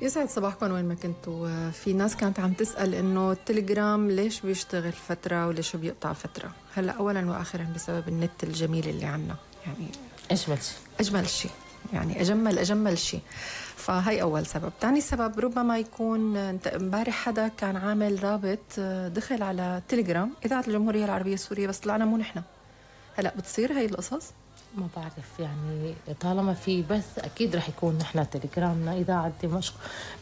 يسعد صباحكم وين ما كنتوا. في ناس كانت عم تسأل إنه التليجرام ليش بيشتغل فترة وليش بيقطع فترة. هلأ أولا وآخرا بسبب النت الجميل اللي عنا، يعني أجمل شيء، يعني أجمل شيء. فهي أول سبب. تاني سبب ربما يكون امبارح حدا كان عامل رابط دخل على تليجرام إذاعة الجمهورية العربية السورية، بس طلعنا مو نحن. هلأ بتصير هاي القصص؟ ما بعرف، يعني طالما في بث أكيد رح يكون نحن تليجرامنا إذاعة دمشق.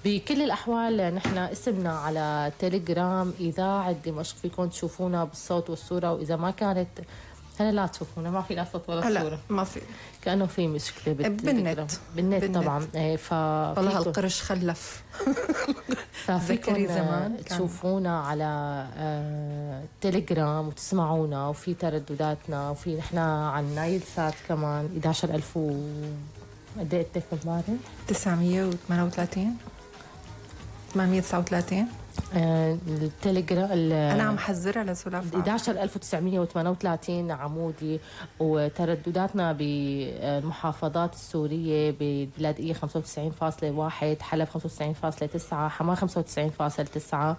بكل الأحوال نحن اسمنا على تليجرام إذاعة دمشق، فيكم تشوفونا بالصوت والصورة، وإذا ما كانت هلا لا تشوفونا، ما في لا صوت ولا صورة، ما في، كأنه في مشكلة بالنت طبعا. والله القرش خلف. ففيكم تشوفونا على تليجرام وتسمعونا، وفي تردداتنا، وفي نحن عن نايل سات كمان 11,000 قد ايه التليفون امبارح؟ 938 839. التليجرام انا عم حذرها لسلاف 11,938 عمودي، وتردداتنا بالمحافظات السورية: بالبلادية 95.1، حلب 95.9، حماة 95.9،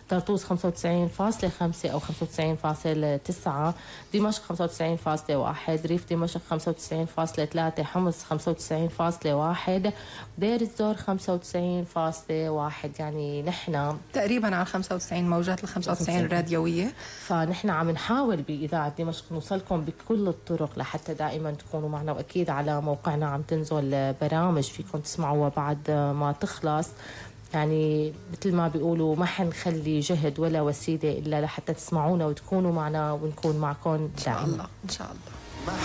طرطوس 95.5 أو 95.9، دمشق 95.1، ريف دمشق 95.3، حمص 95.1، دير الزور 95.1. يعني نحن تقريبا على 95 موجات ال 95 الراديوية. فنحن عم نحاول بإذاعة دمشق نوصلكم بكل الطرق لحتى دائما تكونوا معنا، وأكيد على موقعنا عم تنزل برامج فيكم تسمعوها بعد ما تخلص. يعني مثل ما بيقولوا ما حنخلي جهد ولا وسيلة إلا لحتى تسمعونا وتكونوا معنا ونكون معكم دائما إن شاء الله.